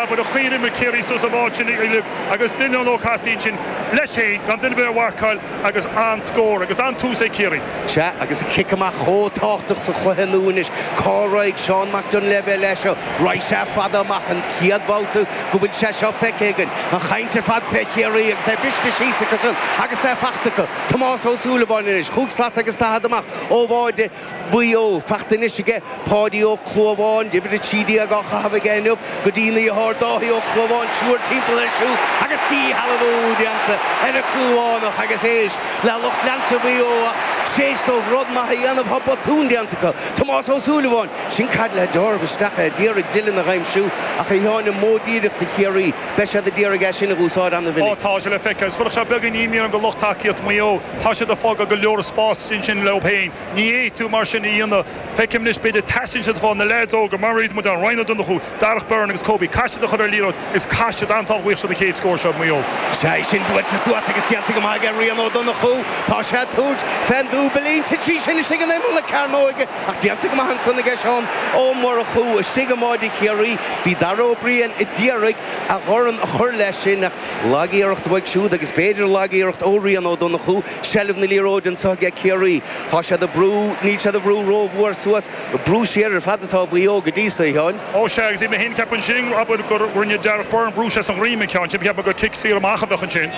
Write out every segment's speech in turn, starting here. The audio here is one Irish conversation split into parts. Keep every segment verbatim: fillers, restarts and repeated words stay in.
abair a chuir imir Ciarraí suas an ball sin agus Dylan Ó Cathasaigh sin leis féin gan duine ar bith a mharcáil agus an-scór agus an-tús ag Ciarraí. Sea agus an cic amach chomh tábhachtach sa chluiche nua anois. Cá raghaidh Seán Mac Duinnshléibhe leis seo? Raghaidh sé fada amach an chéad bhabhta go bhfuil sé seo feicthe againn. An chaint ar fad fé Chiarraí agus é briste síos acu san agus é fachta acu. Tomás Ó Súilleabháin anois, chúig slat agus daichead amach ó bháide Mhaigh Eo. Fachta anois aige Páidí Ó Clúmháin, uimhir a trí déag á chaitheamh aige inniu go dtí a dheartháir Dáithí Ó Clúmháin, triúr timpeall air siúd agus díshealbhú déanta ar an Clúmhánach agus éist le lucht leanta Mhaigh Eo ach tréis dóibh rud maith a dhéanamh tá botún déanta acu. Tomás Ó Súilleabháin, sin caid le deáramh isteach é d'iarraidh Dylan a aimsiú ach a Sheáin an modh díreach do Chiarraí, beidh siad ag iarraidh é sin a úsáid an-mhinic. Ó tá sé le feiceáil. Is chuirfeadh sé beagán imní orm do lucht tacaíocht Mhaigh Eo. Tá siad ag fágáil go leor spás ansin leo féin. Ní fhéadfaidh tú mar sin a dhéanamh. Feicim anois b'fhéidir teastaíonn siad fá na leaids óga mar iad muid ann, Ryan Ó Donnchú, Darragh Beirne agus Kobe. Caithfidh siad a chur ar liathróid is caithfidh siad an-tábhachtach sa chéad scór seo Maigh Eo. Sea, sin buailte suas agus déanta go maith aige Rian Ó Donnchú. Tá sé ag tabhairt fén dúbailín. Thit sí sin istigh in imeall na cearnóige ach déanta go maith ansan aige Seán Ó Murchú. Istigh i mbáide Chiarraí bhí Dara Ó Briain a d'iarraidh a dhorn a chur leis sin ach lag-iarracht uaidh siúd agus b'fhéidir lag-iarracht ó Rian Ó Donnchú. Seilbh na liathróide anseo aige Ciarraí. Tá siad ag brú, níl siad ag brú rómhór suas, brú siar ar fad atá Mhaigh Eo go dtí so, a Sheáin. Ó sea, agus bhí mé féin ag ceapadh ansin, abair, gur rinne Darragh Beirne brú sé san ghreim an ceann sin, cheap mé gur cic saor amach a bheadh ansin.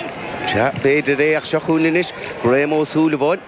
Sea, b'fhéidir é ach seo chugainn anois Graham Ó Súilleabháin.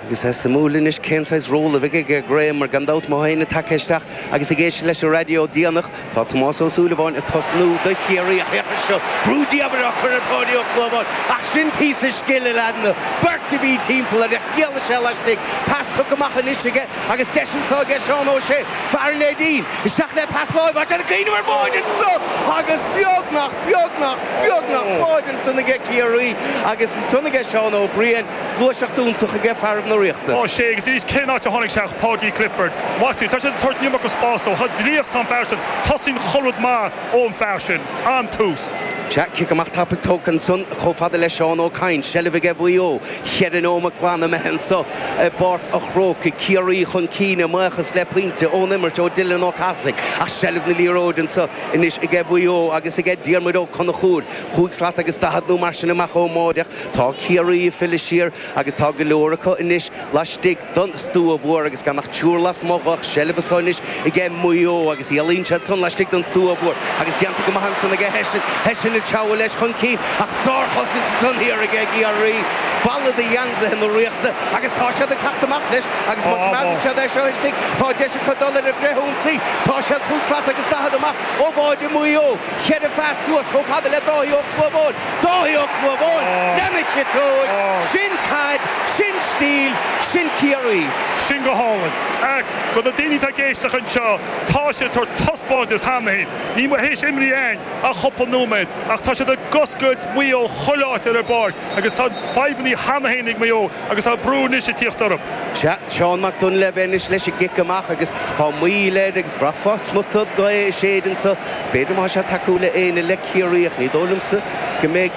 Agus é suimiúil anois cén saghas ról a bheidh aige Graham mar gan dabht má théann tagtha isteach agus ag éisteacht leis an raidió déanach tá Tomás Ó Súilleabháin ag tosnú do Chiarraí ach féach air seo brú diamhair á chur ar Pháidí Ó Clúmháin ach sin píosa scil a leaideanna beirt a bhí timpeall air ach d'éalaigh sé laistigh pas tugtha amach anois aige agus deis anseo aige Seán Ó Sé fear an Neidín isteach le pas láimhe ach déanamh cuimhneamh ar bháide anseo agus beagnach beagnach beagnach báide ansan aige Ciarraí agus ansan aige Seán Ó Briain gluaiseacht iontach aige fear na Ríochta. Ó sé agus arís cén áit a tháinig sé ach Paudie Clifford. Maith tú, tá siad ag tabhairt an iomarca spáis dó, chomh draíocht tá an fear sin, tosaíonn chuile rud maith ón fear sin. An-tús. Sea, cic amach tapaidh tógtha ansan chomh fada le Seán Ó Cadhain, seilbh aige Mhaigh Eo, cheithre nóimeat glan imithe anso i bPáirc a' Chrócaigh, Ciarraí chun cinn a mbuíochas le pointe ón imirt ó Dylan Ó Cathasaigh ach seilbh na liathróide anso anois aige Mhaigh Eo agus aige Diarmuid Ó Conchúir, chúig slat agus daichead nó mar sin amach ón mbáide ach tá Ciarraí ag filleadh siar agus tá go leor acu anois laistigh den stua mhór agus gan ach triúr lasmuigh ach seilbh anso anois aige Maigh Eo agus éalaíonn siad san laistigh den stua mhór agus déanta go maith ansan aige Hession, Hession ag treabhadh leis chun cinn ach sárchosaint ansan thiar aige Ciarraí, falla de gheansaithe na Ríochta agus tá siad ag teacht amach leis agus má choimeádann siad é seo istigh tá deis acu dul ar an bhfrithionsaí. Tá siad chúig slat agus daichead amach ó bháide Mhaigh Eo, cheithre phas suas chomh fada le Dáithí Ó Clúmháin. Dáithí Ó Clúmháin lena chiotóig! Sin caid, sin stíl, sin Ciarraí! Sin go hálainn. Ach do na daoine atá ag éisteacht anseo, tá siad ag tabhairt taispeántas cheana féin. Níl muid théis imrí againn ach cúpla nóiméad, ach tá siad ag oscailt Maigh Eo chuile áit ar an bpáirc agus tá fadhbanna cheana féin ag Maigh Eo agus tá brú anois ag tíocht orthu. Sea, Seán Mac Duinnshléibhe anois leis an gcic amach agus tá moill air agus bhraithfeá smuta gaoth ag séideadh anso. Is b'fhéidir má tá sé ag tacú le éinne le Ciarraí ach ní dóigh liomsa go mbeidh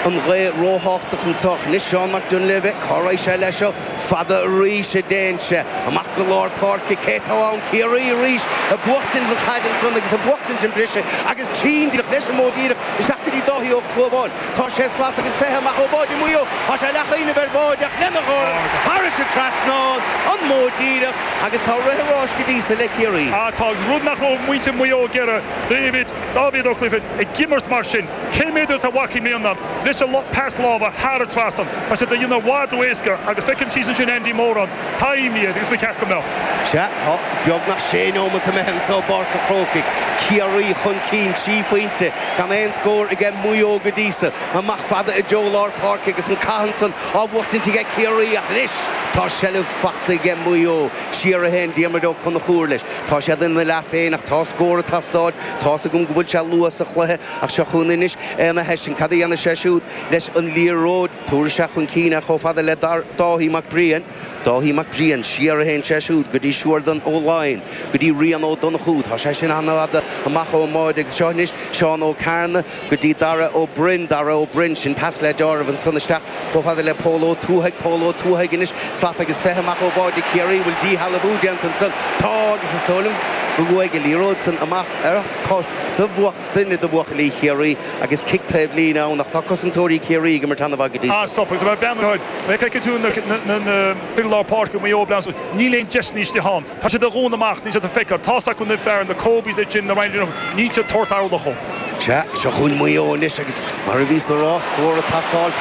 an ghaoth róthábhachtach anso. Anois Seán Mac Duinnshléibhe, cá raghaidh sé leis seo? Fada arís a dtéann sé. Amach go lár páirce. Cé atá ann? Ciarraí arís ag buachtaint an chaid ansan agus ag buachtaint an briseadh agus trín díreach leis an modh díreach isteach go dtí Dáithí Ó Clúmháin. Tá sé slat agus fiche amach ó bháide Mhaigh Eo. Tá sé leathchuimhneamh ar bháide ach lena dhorn thairis an trasnán, an modh díreach agus tá rith an ráis go dtí so le Ciarraí. Ah tá, agus rud nach raibh muintir Mhaigh Eo ag iarraidh, David, Dáibhí Ó Clifford, ag imirt mar sin. Cé méad atá uaidh i mbliana leis an pas láimhe thar an trasnán? Tá siad á dhéanamh i bhfad ró-éasca agus feicim síos ansin Andy Moran, tá imní air agus ba cheart go mbeadh. Sea, tá beagnach sé neomat imithe anso i bPáirc an Chrócaigh. Ciarraí chun cinn trí phointe, gan aon scór aige Maigh Eo go dtí so. Amach fada i dtreo lár páirce agus an cath ansan á bhuachtaint aige Ciarraí ach anois tá seilbh fachta aige Maigh Eo. Siar a théann Diarmuid Ó Conchúir leis. Tá siad ina leath féin ach tá scór ag teastáil. Tá's agam go bhfuil sé luath sa chluiche ach seo chugainn anois Éanna Hession. Cad a dhéanfaidh sé siúd leis an liathróid? Tabharfaidh sé chun cinn é chomh fada le Dáithí Mac Briain. Dáithí Mac Briain, siar a théann sé siúd go dtí Siúrdan Ó Laighin, go dtí Rian Ó Donnchú. Tá sé sin an-fhada amach ón mbáide agus seo anois Seán Ó Cearna go dtí Dara Ó Broin. Dara Ó Broin, sin pas le deáramh ansan isteach chomh fada le Pól Ó Tuathaigh. Pól Ó Tuathaigh anois, slat agus fiche amach ó bháide Chiarraí. Bhfuil díshealbhú déanta ansan? Tá agus is dóigh liom go bhfuaigh an liathróid san amach ar cos do bhuach duine de bhuachaillí Chiarraí agus cic taobh líne ann ach tá cosantóirí Chiarraí go mar tanna go dtí. Ah stop agus bean feiceann tú na na fir lár páirce Maigh Eo blean níl aon deis níos han. Tá sé de dhún amach ní sé a feiceáil tá acu na fear na Kobe's sin na Ryan ní sé tort arlachó. Se seo chugainn Maigh Eo anois agus mar a bhí sa rá scór tasáil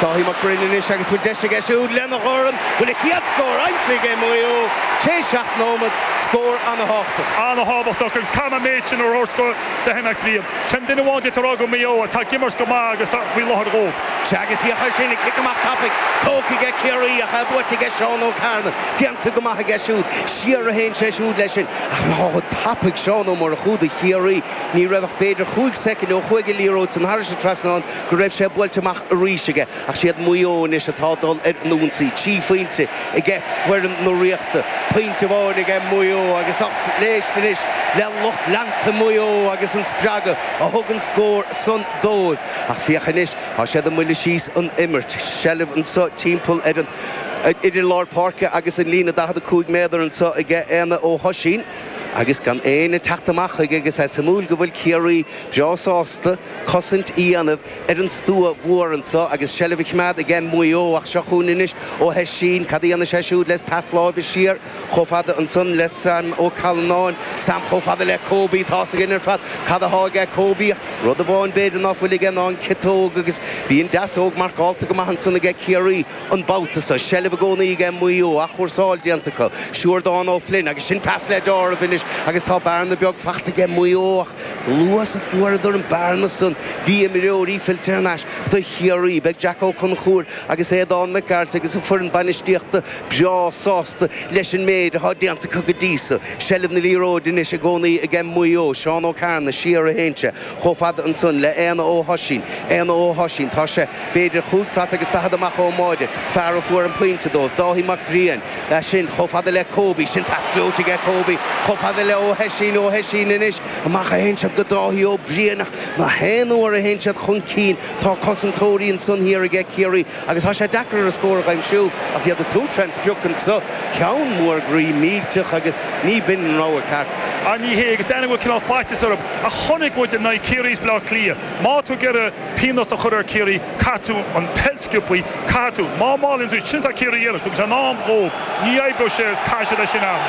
Dáithí Mac Broin anois agus bhfuil deis aige siúd lena dhorn bhfuil a chéad scór aimsithe ag Maigh Eo sé seacht nóiméad scór an-tábhachtach. An-tábhachtach agus cam méid sin orth go Dáithí Mac Briain. Sin duine amháin rá go Maigh Eo atá ag imirt go maith agus faoi láthair dhó. Se agus híocha sin ag cic amach tapaidh tógtha ag Ciarraí ach é buaite aige Seán Ó Cearna. Déanta go maith aige siúd siar a théann sé siúd leis sin ach má tapaidh Seán Ó Murchú do Chiarraí ní raibh ach b'fhéidir chúig soicind ó chuaigh an liathróid san thar an trasnán go raibh sé buailte amach arís aige ach siad Maigh Eo anois atá dul ar an ionsaí trí phointe aige foireann na Ríochta pointe amháin aige Maigh Eo agus ach éist anois le lucht leanta Maigh Eo agus an spreagadh a thug an scór san dóibh ach féach anois tá siad ag moilleadh síos an imirt seilbh anseo timpeall ar an idir lár páirce agus an líne daichead a cúig méadar anseo aige Éanna Ó hOisín agus gan éinne teacht amach chuige agus é suimiúil go bhfuil Ciarraí breá sásta cosaint a dhéanamh ar an stua mhór anseo agus seilbh a choimeád aige Maigh Eo ach seo chugainn anois Ó hOisín cad a dhéanann sé siúd leis pas láimhe siar chomh fada ansan le Sam Ó Callanáin Sam chomh fada le Kobe tá againn ar fad cad atá aige Kobe rud amháin b'fhéidir ná fuil aige ná an ciotóg agus bhí an deasóg marcáilte go maith ansan aige Ciarraí an babhta seo seilbh i gcónaí aige Maigh Eo athchúrsáil déanta acu Siúrdán Ó Flynn agus sin pas le deáramh anois agus tá bearna beag fachta aige Maigh Eo ach luas a fuaireadar an bearna san bhí imreoirí fillte ar ais do Chiarraí beidh Jack Ó Conchúir agus Aodán Mac Gearailt agus an foireann bainistíochta breá sásta leis an méid atá déanta acu go dtí seo seilbh na liathróide anois i gcónaí aige Maigh Eo Seán Ó Cearna siar a théann sé chomh fada ansan le Éanna Ó hOisín Éanna Ó hOisín tá sé b'fhéidir chúig slat agus daichead amach ón mbáide fear a fuair an pointe dóibh Dáithí Mac Briain sin chomh fada le Kobe sin pas gleoite aige Kobe chomh fada le Ó hOisín Ó hOisín anois amach a théann siad go Dáithí Ó Briain ach na haon uair a théann siad chun cinn tá cosantóirí ansan thiar aige Ciarraí agus tá sé deacair a scór a aimsiú ach iad ag tabhairt fén sprioc anseo ceann mór groí millteach agus ní b'in an rogha ceart. A ní hé agus déanamh bhfuil cineál faitíos orthu a chonaic muid in aghaidh Ciarraí Bleá Cliath. Má tú ag iarraidh pionós a chur ar Ciarraí caithfidh tú an peil sciobtha caithfidh tú má málann tú sin tá Ciarraí dhéanamh tugann sé an am dhóibh ní oibreoidh sé is caithfidh sé leis sin am.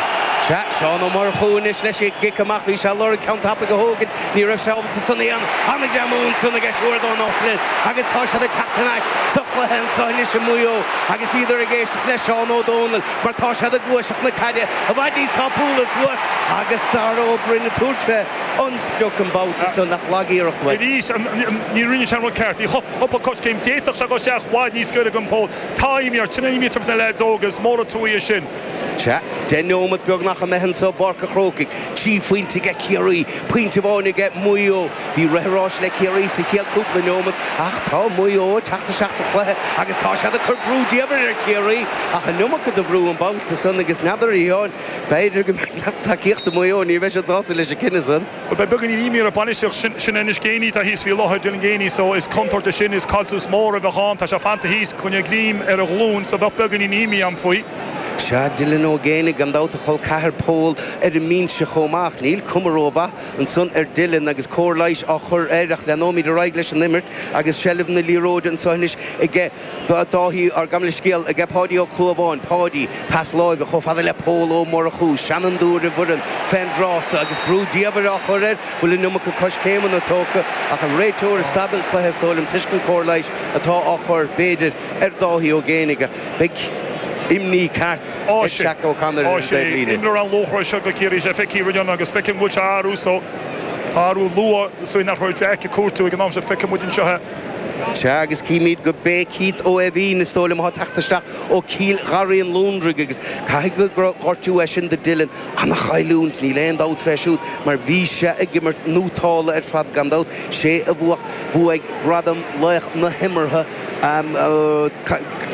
Se Seán Ó Murchú anois leis an gcic amach bhí sé lorg ceann tapaidh a thógaint ní raibh sé ábalta san aon an-ghreamú ansan aige Siúrdán Ó Flynn agus tá siad ag teacht ar ais sa chluiche anseo anois i Maigh Eo agus iad ag éisteacht le Seán Ó Dónaill mar tá siad ag gluaiseacht na caide i bhfad níos tapúla suas agus Dara Ó Broin ag tabhairt fé an sprioc an babhta san nach lag-iarracht uaidh. Arís ní rinne sé an rud ceart bhí cúpla coiscéim d'fhéadfadh sé go isteach bhfad níos gaire den pholl Tá imní sin imní na lads óga is mór an trua sin. Se deich nóiméad beagnach imithe anseo i bPáirc an Chrócaigh trí phointe aige Ciarraí pointe amháin aige Maigh Eo bhí rith ráis le Ciarraí sa chéad cúpla nóiméad ach tá Maigh Eo teacht isteach sa chluiche agus tá siad ag cur brú diamhair ar Chiarraí ach an iomarca de bhrú an babhta san agus n'fheadar a Sheáin b'fhéidir go mbeadh tacaíochta Maigh Eo ní bheidh siad sásta leis an cinneadh san. Beidh beagáinín imní ar bainistíocht sin sin anois Geaney tá thíos faoi láthair Dylan Geaney so is contúirt sin is caillteanas mór a bheith ann tá sé fanta thíos chun greim ar a ghlúin so bheadh beagáinín imní ann faoi. Se Dylan Ó Géanaigh gan dabht a chol ceathar Pól ar an mbinse chomh maith níl cuma rómhaith ansan ar Dylan agus cóir leighis á chur air ach leanfaimid ar aghaidh leis an imirt agus seilbh na liathróide anseo anois aige Dáithí ar gam le scéal aige Páidí Ó Clúmháin Páidí pas láimhe chomh fada le Pól Ó Murchú seanfhondúir i bhfoireann fén dtráth agus brú diamhair á chur air bhfuil an iomarca coiscéimeanna tógtha ach an réiteoir stad an cluiche is dóigh liom toisc an cóir leighis atá á chur b'fhéidir ar Dáithí Ó Géanaigh beidh imní ceart Á ag Jack O'Connor ar an sé taobhlíne. Imreoir an-luachmhar seo go Ciarraí sé feicthe roimhe agus feicim go bhfuil sé athrú so tá athrú luath so nach raibh Jack ag cuartú ag an am seo feicim muid anseo Se agus címid go bé Keith Ó Eibhín is dóigh liom atá teacht isteach ó Chill Gharraí an Lúndraigh agus caithfidh go gortú é sin do Dylan an-chailliúint níl aon dabht fé siúd mar bhí sé ag imirt nótála ar fad gan dabht sé a bhuaigh bhuaigh gradam laoch na himeartha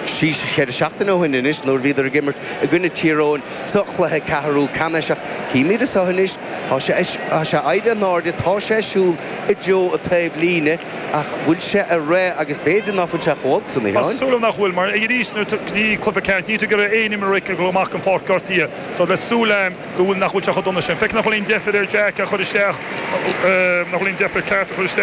sí cheithre seachtaine ó shin anois nuair bhíodar ag imirt i gcoinne Tír Eoghain sa chluiche ceathrú ceannais ach címid anseo anois tá sé tá sé éirithe in airde tá sé siúl i dtreo an taobh líne ach bhfuil sé ar réidh agus b'fhéidir nach bhfuil sé chomh san Tá súil nach bhfuil mar arís ní cluiche ceannais ní tú go aon imreoir go amach an pháirc gortaithe so le súil go bhfuil nach bhfuil sé chomh dona sin. Feic nach bhfuil aon deifir ar Jack a chur isteach nach bhfuil aon deifir ceart a chur isteach.